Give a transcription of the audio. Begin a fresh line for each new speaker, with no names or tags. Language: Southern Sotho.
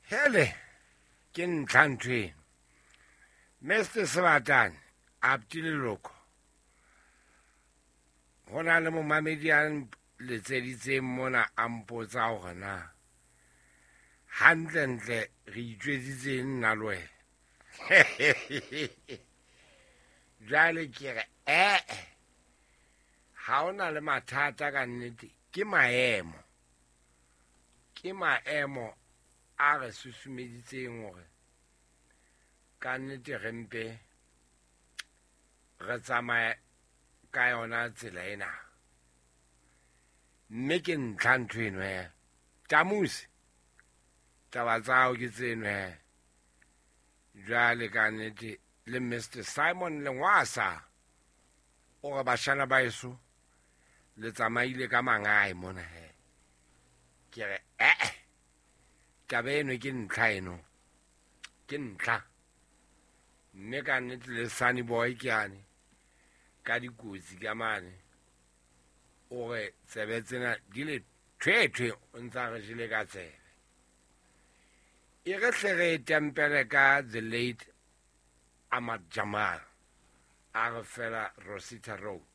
Hele, ke ntlha ntho eno. Mr Sebatane, Apti Leloko, ho na le momamedi a letseditseng mona a mpotsa hore na hantlentle re itjwetsitseng nna le wena. Jwale ke re ee, ha o na le mathata ka nnete, ke maemo. Ke maemo a re susumeditseng hore ka nnete re mpe re tsamaye ka yona tsela ena. Mme ke ntlha ntho eno he. Tamusi, taba tsa hao ke tseno he. Jwale ka nnete le Mr Simon Lengwasa o re bashana ba eso le tsamaile ka mangae mona he. Ke re ee, taba eno ke ntlha eno, ke ntlha. Mme ka nnete le Sunny Boy ke ane ka dikotsi ka mane, o re tsebe tsena di le thwethwe, o ntsa re jele ka tsebe. E re hle re tempele ka the late Ahmad Jamal, a re fela Rosita Road.